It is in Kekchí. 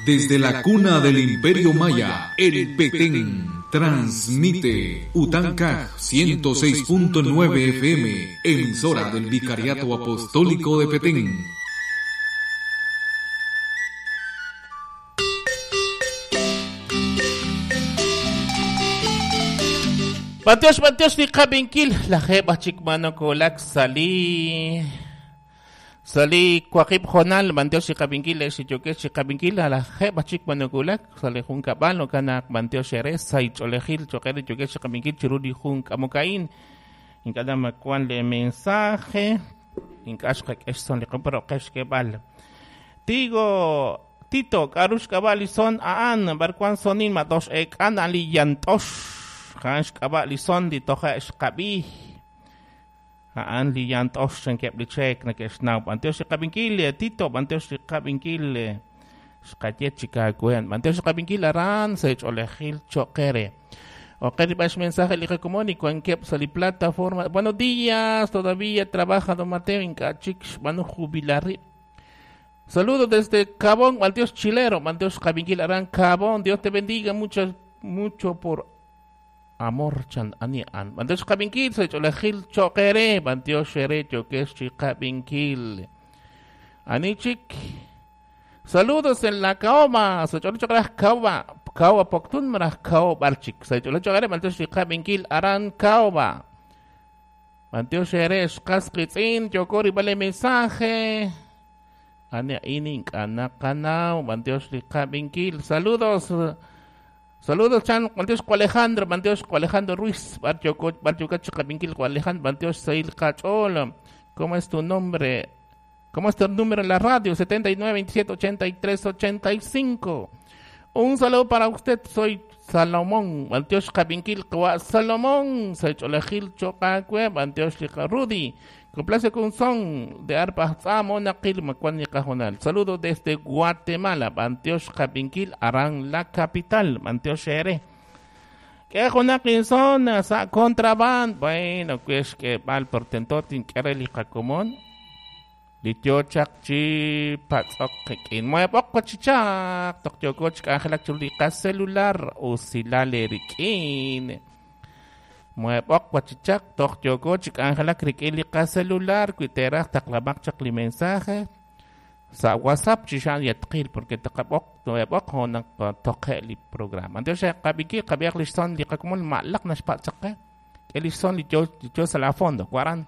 Desde la cuna del Imperio Maya, el Petén transmite Utancaj 106.9 FM, emisora del Vicariato Apostólico de Petén. B'antiox, b'antiox li qab'inkil, lajeeb' aj chik ma nokowulak sa' li sa' li waqib' hoonal, b'antiox li qab'inkil ex li yookex chi qab'inkil, lajeeb' aj chik ma nokowulak sa' li junkab'al, jo'kan naq b'antiox eere sa' ch'oolejil cho'q eere yookex chi qab'inkil chiru li jun k'amok a'in. Ink'a' na wan le mensaje, ink'a' xqak'e xson li qom, pero qe xk'eeb'al. Tigo, Tito, k'a'ru xk'ab'a' li son a'an, b'ar wan sonin ma tox eek'an a'an li yant'ox, a'an xk'ab'a' li son li toje' xqab'i. A'an li yant'ox chankeb' li cheek neke'xnaw. B'antiox li qab'inkil, Tito, b'antiox li qab'inkil, xqaye chik aawe. B'antiox li qab'inkil aran sa' ch'oolejil cho'q eere. Ok, riba mensaje li qakomon y wankeb' sa' li plataforma. Buenos días, todavía trabaja don Mateo ink'a' chik xb'aanu jubilar rib'. Saludos desde Cabón, Dios Chilero, Dios Cabinkil Arán Cabón, Dios te bendiga mucho, mucho por amor chan ani an. Dios Cabinkil, soy Cholejil Choquere, Dios Shere Chokesh Cabinkil. Anichik. Saludos en la Caoma, soy Cholejil Caoba, Caoba Poctun Maraj Cao Barchik, soy Cholejil Dios Cabinkil Arán Caoba. Dios Shere Xkasqitzin, Yokori vale mensaje. Ani ini ink'a' b'antiox li qab'inkil. Saludos, saludos chan, b'antiox ko Alejandro, b'antiox ko Alejandro Ruiz, b'ar yoko, b'ar yoka chi qab'inkil ko Alejandro, b'antiox Sail Cachol. ¿Cómo es tu nombre? ¿Cómo es tu número en la radio? 79 27 83 85. Un saludo para usted, soy Salomón, b'antiox qab'inkil kwa Salomón, soy Cholejil Chocacue, b'antiox li Rudy. Complace con son de arpa Naqil Macuani Cajonal. Saludo desde Guatemala, Bantiosh Capinkil, Arán, la capital, Bantiosh Ere. ¿Qué jonaqin son? Sa contraband. Bueno, pues que mal por tentotin kereli jacomón. Litio chak chi patzok kin. Muebok chichak. Tok yokoch angelak chulika celular o silale rikin. Muebok wachichak tok yoko chik angelak rik'in li qacelular kuiteraj taqlamaq chaq li mensaje sa WhatsApp chixan yatqil porque taqab'oq muebok honaq toqe li programa. Entonces qabiki qabiaq li son li qakumul ma'laq naxpa'tzaqe que li son li yo sa la fondo cuaran.